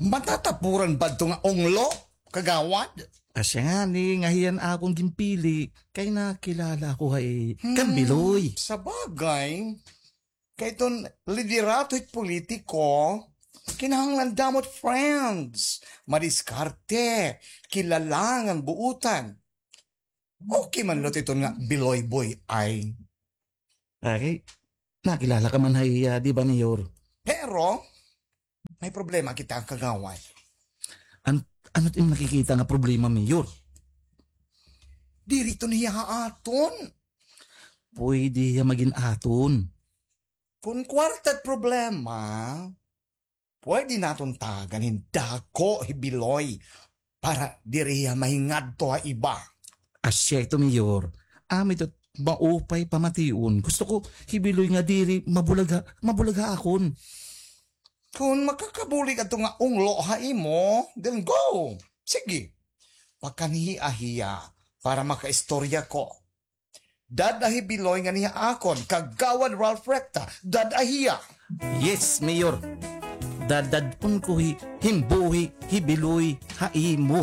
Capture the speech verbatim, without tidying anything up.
Matatapuran ba ito nga unglo, kagawad? Asya ngani nga hiya an akon ginpili, kay nakilala ako ha iya kan Biloy. Sabagay, kay iton liderato hit politiko, kinahanglan damo it friends, madiskarte, kilala ngan buotan. Okay man la iton nga Biloy boy ay. Aki, nakilala ka man ha iya, di ba, Mayor? Pero, may problema kita, kagawad. An-, ano it im nakikita nga problema, Mayor? Diri iton hiya ha aton. Pwede hiya magin aton. Kon kwarta it problema, pwede naton tagan hin dako hi Biloy para diri hiya mahingadto ha iba. Asya ito, Mayor. Amo ito it maupay pamation. Gusto ko hi Biloy nga diri mabulag ha, mabulag ha akon. Kon makakabulig adto nga unglo ha imo, then go. Sige. Pakanhi-a hiya para makaistorya ko. Dad-a hi Biloy nganhi ha akon, Kagawad Ralph Recta, dad-a hiya. Yes, Mayor. Dadad-on ko hi, hin buhi hi Biloy ha imo.